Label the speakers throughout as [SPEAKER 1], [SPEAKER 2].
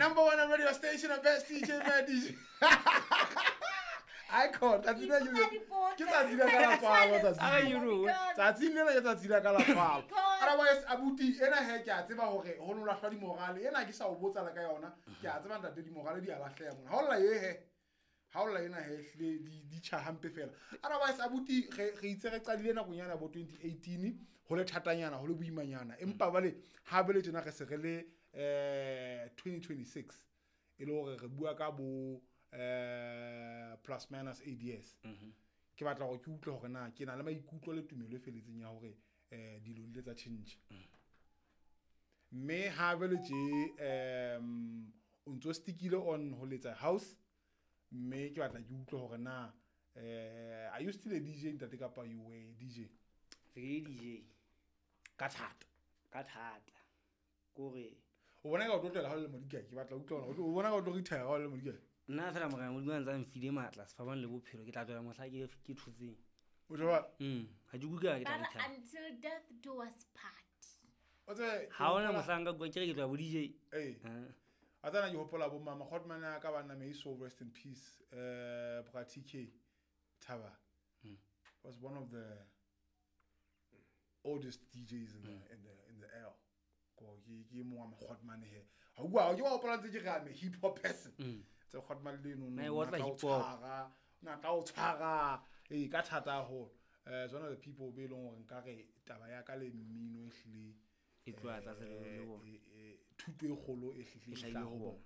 [SPEAKER 1] Number one on radio station, the best DJ, man, DJ. Icon, tsatsi lena ke tsatsi la ka la tswalo, tsatsi lena. Tsatsi lena ke tsatsi la ka la tswalo. Otherwise, abuti, ena he ke a tseba hore ho no lahlwa dimorale. Ena ke sa o botsa le ka yona. Ke a tseba ntate dimorale di a lahleha mona. Ha o lla ye he. Ha o lla ena he ehlile di tjha hampe fela. Otherwise, abuti, re itse re qadile nakong yana bo 2018, ho le thatanyana, ho le boimanyana. Empa bale ha bele tjena re se re le 2026 e le hore re bua ka bo plus minus 8 years. Ke batla hore ke utlwe hore na ke na le maikutlo le tumelo e feletseng ya hore dilo di ile tsa tjhentjha. Mme ha bele tje o ntso stickile on ho letsa house, mme ke batla ke utlwe hore na are you still a DJ ntate kapa you were a DJ?
[SPEAKER 2] Ke DJ.
[SPEAKER 1] Ka thata.
[SPEAKER 2] Ka thata. Kore
[SPEAKER 1] o bona ka o tlotlela ha o le modikae, ke batla utlwa hore o bona ka o tlo retire ha o le modikae.
[SPEAKER 2] Nna fela morena Modimo a ntse a mfile matla sefapano le bophelo, ke tla tswela mohla ke thotseng.
[SPEAKER 1] O tlo ba?
[SPEAKER 2] Ha ke utlwe ke tla retire.
[SPEAKER 3] Until death do us part.
[SPEAKER 1] O tse
[SPEAKER 2] ha ona mohla nka bua ke re ke tloha bo DJ.
[SPEAKER 1] Eh. A tsana ke hopola bo mama Hotman a ka bana may so rest in peace. Bra TK Thaba was one of the oldest DJs in the in the L. Ko ke mo wa Hotman he. Ha bua ke wa hopola ntse ke re I'm a hip hop person. Tse Hotman le no
[SPEAKER 2] no
[SPEAKER 1] hip hop. Na tla o tshwara e ka thata haholo. It's one of the people be long hore nka re taba ya ka le mmino e hlile
[SPEAKER 2] e tloha tlase le bona.
[SPEAKER 1] Thuto e kgolo e hlile ho bona.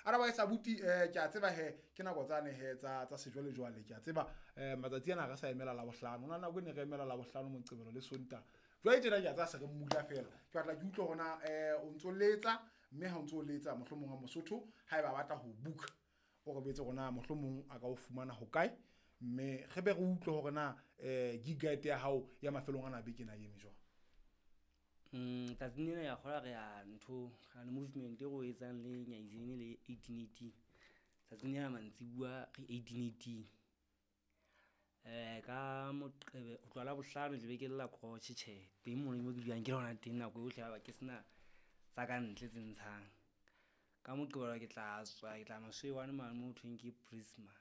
[SPEAKER 1] Otherwise abuti ke a tseba he ke nako tsane he tsa sejwale jwale ke a tseba matsatsi ana re sa emela la bohlano. Ona nako ne re emela la bohlano Moqebelo le Sontaha. Jwale tjena ke a tsaya se re mmula fela. Ke batla ke utlwe hore na o ntso letsa mme ha o ntso letsa mohlomong wa Mosotho haeba ba batla ho book o re betse rona mohlomong a ka o fumana ho kae mme re be re utlwe hore na gig guide ya hao ya mafelong ana beke na eme jwang.
[SPEAKER 2] Tsatsing lena ya kgola re ya ntho re na le movement e re o etsang le Nyaizene le 1818. Tsatsing lena mantsibuya re 1818. Ka Moqebelo ho tloha Labohlano tlabe ke lla crotch tjhe teng mono mo ke dulang ke lona teng nako yohle haeba ke sena tsa ka ntle tse ntshang. Ka Moqebelo ke tla tswa ke tla Maswewane mane mo ho thweng ke Prisma.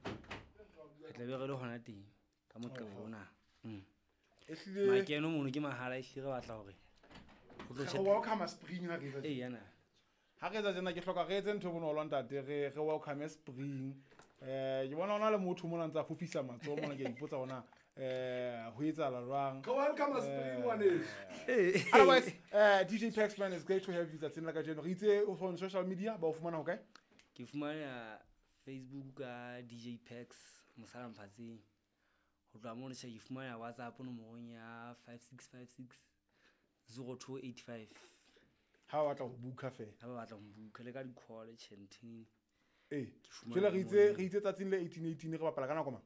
[SPEAKER 2] Re tlabe re le hona teng ka Moqebelo ona. Makeno mono ke mahala ehlile re batla hore ho tlo
[SPEAKER 1] re welcome spring ha re etsa.
[SPEAKER 2] Ee yana.
[SPEAKER 1] Ha re etsa tjena ke hloka re etse ntho e bonolo ntate re welcome spring. Ke bona ona le motho mona ntsa fofisa matsoho mona ke ipotsa hona ho etsahala jwang.
[SPEAKER 4] Re welcome spring ngwaneso.
[SPEAKER 1] Otherwise DJ Paxman, it's great to have you tsatsing la kajeno. Re itse on social media ba o fumana ho kae?
[SPEAKER 2] Ke fumana Facebook ka DJ Pax Mosala Mphatseng. Ho tloha mono tjhe ke fumana WhatsApp nomorong ya 5656 0285.
[SPEAKER 1] Ha ba batla ho booka fela.
[SPEAKER 2] Ha ba batla ho booka le ka di-call tjhe ntheng.
[SPEAKER 1] Jwale re itse tsatsing le 1818 re bapala ka nako mang?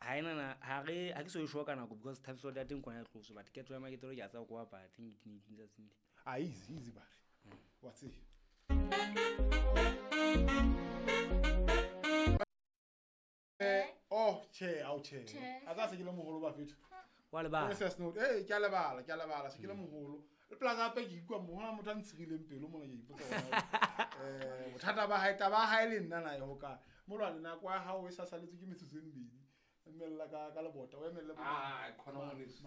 [SPEAKER 2] Ha ena na ha re ha ke so e sure ka nako because time slot ya teng kona e tloswe but ke tloha maketelo ke a tseba ko bapala teng 1818 tsatsing le.
[SPEAKER 1] Ah easy easy bare. Wa tseba. Oh che au che. A tsa se ke le moholo ba fetho.
[SPEAKER 2] Wa lebala.
[SPEAKER 1] Ke a lebala se ke le moholo. Le plaza hape ke ikwa mo hona motho a ntshirileng pelo mona ke ipotsa hore bothata ba hae taba hae le nna na e ho kae. Molwane nako ya hao e sa saletse ke metsotso e mmedi. Emella ka lebota o emelle bo.
[SPEAKER 4] Ah khona ngwaneso.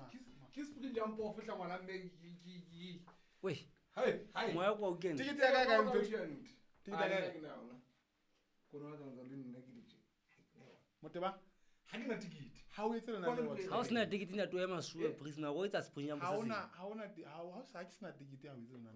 [SPEAKER 4] Ke spring jump off fihla ngwana mme ke.
[SPEAKER 2] We.
[SPEAKER 4] Hai hai.
[SPEAKER 2] Moya kwa o kene.
[SPEAKER 1] Tikete ya kae kae mfethu? Tikete ya kae?
[SPEAKER 4] Ke na yona. Kono wa tsa le nna ke ditje.
[SPEAKER 1] Moteba?
[SPEAKER 4] Ha ke na tikete.
[SPEAKER 1] Ha o etse lena le wa.
[SPEAKER 2] Ha o sena tikete na to ema suwe Prisma go etsa spring jump
[SPEAKER 1] se. Ha ona ha o sa ke sena tikete ha o etse lena.